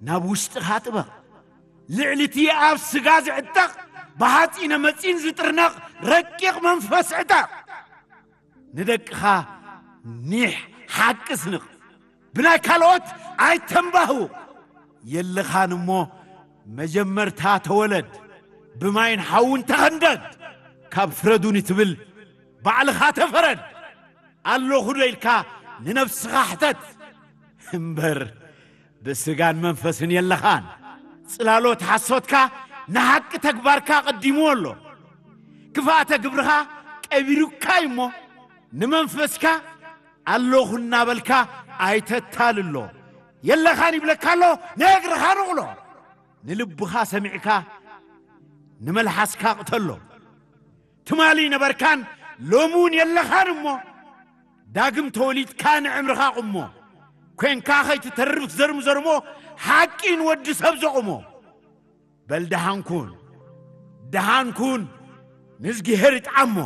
ናብ ውሽጥኻ ጥበቕ። ልዕሊ እቲ ኣብ ስጋ ዝዕጠቕ፣ ብሓጺነ መጺን ዝጥርነቕ ረቂቕ መንፈስ ዕጠቕ። ንደቅኻ ኒሕ ሓቂ ስንቕ። ብናይ ካልኦት ኣይተንባህው። የለኻን እሞ መጀመርታ ተወለድ። ብማይን ሓውን ተኸንደድ። ካብ ፍረዱኒ ትብል ባዕልኻ ተፈረድ። ኣለኹ ዶ ኢልካ ንነብስኻ ሕተት። እምበር ብስጋን መንፈስን የለኻን። ጽላሎት ሓሶትካ ንሓቂ ተግባርካ ቀዲምዎ ኣሎ። ክፍኣተ ግብርኻ ቀቢሩካ እዩ እሞ፣ ንመንፈስካ ኣለኹ እናበልካ ኣይተታልሎ። የለኻን ይብለካ ኣሎ፣ ንእግርኻ ንቕሎ። ንልብኻ ሰሚዕካ ንመልሓስካ ቅተሎ። ትማሊ ነበርካን ሎሚ እውን የለኻን እሞ፣ ዳግም ተወሊድካ ንዕምርኻ ቁሞ። ኮንካ ከይትተርፍ ዘርምዘርሞ፣ ሓቂ ንወዲ ሰብ ዘቑሞ። በል ደሓን ኩን፣ ደሓን ኩን፣ ንእዝግሄር ይጥዓሞ።